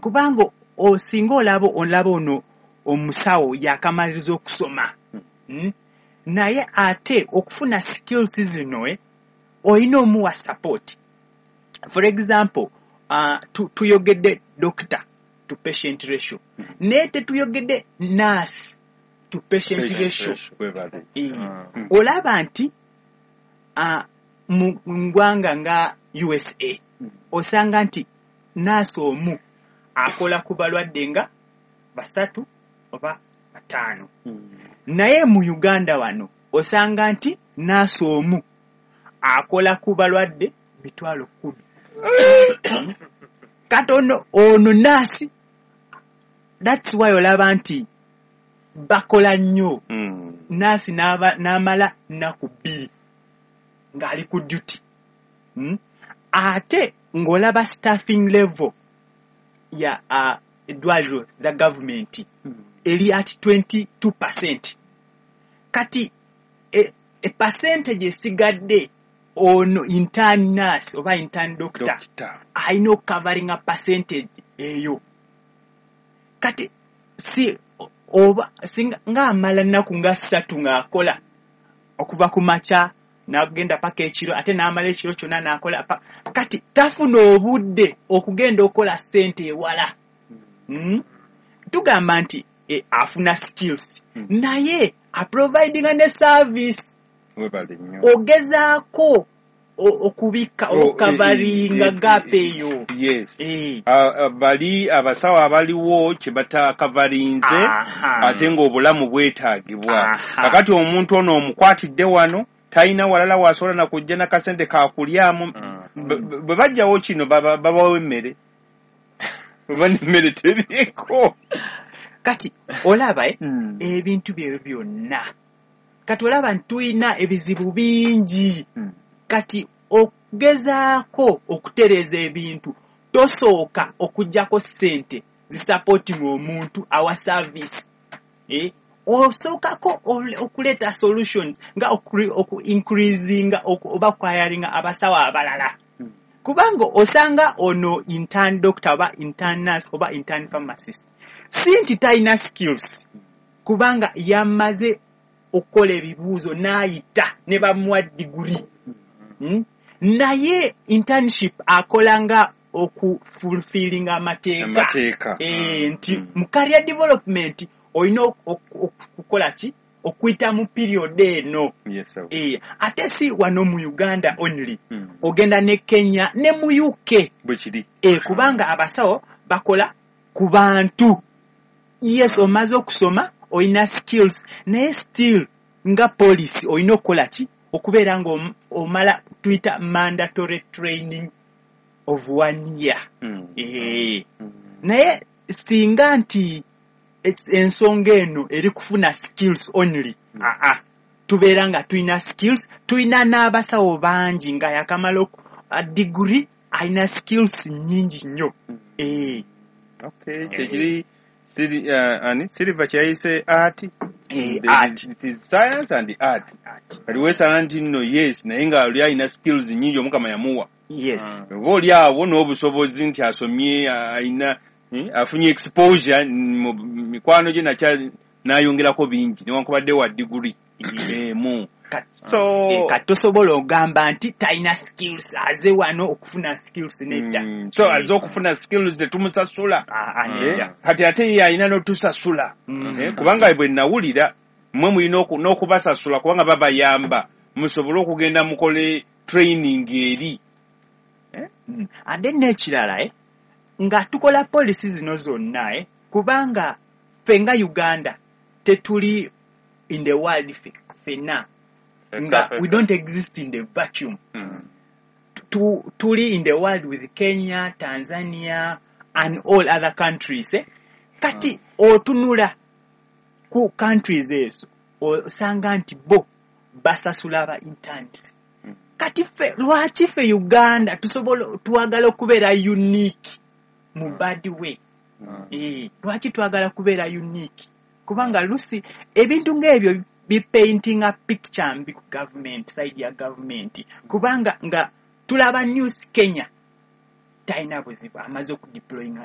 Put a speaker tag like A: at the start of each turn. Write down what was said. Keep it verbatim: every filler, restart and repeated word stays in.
A: Kubanga osinga olaba olaba ono omusawo yakamaliriza okusoma, mm? Naye ate okufuna skills zino, eh, olina omuwa support. For example, uh, tu, tuyogedde doctor to patient ratio, naye tetuyogedde nurse to patient ratio.
B: Webale.
A: Eh,
B: Mm.
A: Olaba nti uh, mu ggwanga nga U S A, osanga nti nurse omu akola ku balwadde nga basatu oba bataano, naye mu Uganda wano osanga nti nurse omu akola ku balwadde mitwalo kumi. Kati ono ono nurse, that's why olaba nti bakola nnyo.
B: Mm.
A: Nurse n'aba- n'amala nnaku bbiri ng'ali ku duty, mm? Ate ng'olaba staffing level ya uh, eddwaliro za gavumenti eri at twenty-two percent. Kati e, e percentage esigadde, ono intern nurse oba intern doctor
B: Doctor.
A: alina okucoveringa percentage eyo. Kati si oba singa ng'amala nnaku nga ssatu ng'akola okuva ku makya n'agenda paka ekiro, ate n'amala ekiro kyonna n'akola pa- kati tafuna obudde okugenda okukola ssente ewala, mm? Tugamba nti e, afuna skills,
B: Mm.
A: naye aprovidinga ne service.
B: Webale nnyo.
A: Ogezaako o- okubikka,
B: Oh,
A: okucoveringa
B: eh, eh,
A: gap
B: eh,
A: eyo.
B: Yes.
A: Eh.
B: Ah, ah, bali abasawo abaliwo kye batacoverinze,
A: Aha.
B: ate ng'obulamu bwetaagibwa.
A: Aha.
B: Kakati omuntu ono omukwatidde wano, talina walala wasobola nakujja nakasente kakulyamu.
C: Mm.
B: Bwe- bwe bajjawo kino, baba- babawo emmere oba nemmere teriiko?
A: Kati olaba, eh,
B: Mm.
A: ebintu byebyo byonna, kati olaba nti tulina ebizibu bingi.
B: Mm.
A: Kati okugezaako okutereeza ebintu, tosooka okugjako ssente zisupporting omuntu awa service, eh? Osookako ole- okuleeta solutions nga oku- oku increasinga oku- oba kuhiringa abasawo abalala, kubanga osanga ono intern doctor oba intern nurse oba intern pharmacist, si nti talina skills, kubanga yamaze okukola ebibuuzo n'ayita ne bamuwa diguri, mm? Naye internship akola nga okufulfillinga amateeka.
B: Amateeka.
A: Eh, nti
B: Mm.
A: mu career development olina ok- ok- okukola ki, okuyita mu period eno.
B: Yes, sir.
A: Eh, ate si wano mu Uganda only,
B: Mm.
A: ogenda ne Kenya ne mu U K.
B: Bwe kiri.
A: Eh, kubanga abasawo bakola ku bantu. Yes, omaze okusoma, olina skills, naye still nga police olina okukola ki, okubeera nga om- omala tuyita mandatory training of one year.
B: Mm.
A: Eh,
B: Mm.
A: naye singa nti es- ensonga eno eri kufuna skills only,
B: Mm.
A: aa, tubeera nga tulina skills, tulina n'abasawo bangi nga yakamala oku- a degree, alina skills nnyingi nnyo.
B: Mm.
A: Eh,
B: Okay, kyekiri siri uh, ani Silver kyeyayise art.
A: Eh,
B: The-
A: art.
B: It is science and art. Kati weesanga nti nno yes, naye nga oli alina skills nnyingi Omukama yamuwa,
A: yes
B: oba oli awo n'obusobozi nti asomye, alina eh, afunye exposure mu mikwano gye, nakya n'ayongerako bingi newankubadde wa diguri emu.
A: Kati-
B: So
A: eh, kati tosobola ogamba nti talina skills, aze wano okufuna skills, nedda.
B: Mm, so aze okufuna skills tetumusasula.
A: Ah, ah,
B: Eh,
A: nedda.
B: Kati ate ye alina n'otusasula.
A: Mm.
B: Eh, kubanga bwe nawulira mmwe mulina oku- n'okubasasula kubanga babayamba musobole okugenda mukole training eri.
A: Mm. Ate n'ekirala, eh, nga tukola policy zino zonna, eh, kubanga ffe nga Uganda tetuli in the world ffe ffenna, nga we don't exist in the vacuum.
B: Mm.
A: Tu, tuli in the world with Kenya, Tanzania and all other countries, eh? Kati otunula ku countries ezo, osanga nti bo basasula aba interns.
B: Mm.
A: Kati ffe lwaki ffe Uganda tusobola twagala okubeera unique mu bad way?
B: Mm.
A: Eh, lwaki twagala kubeera unique? Kubanga lusi ebintu ng'ebyo bipaintinga picture mbi ku government side ya government, kubanga nga tulaba news, Kenya talina buzibu, amaze okudeployinga.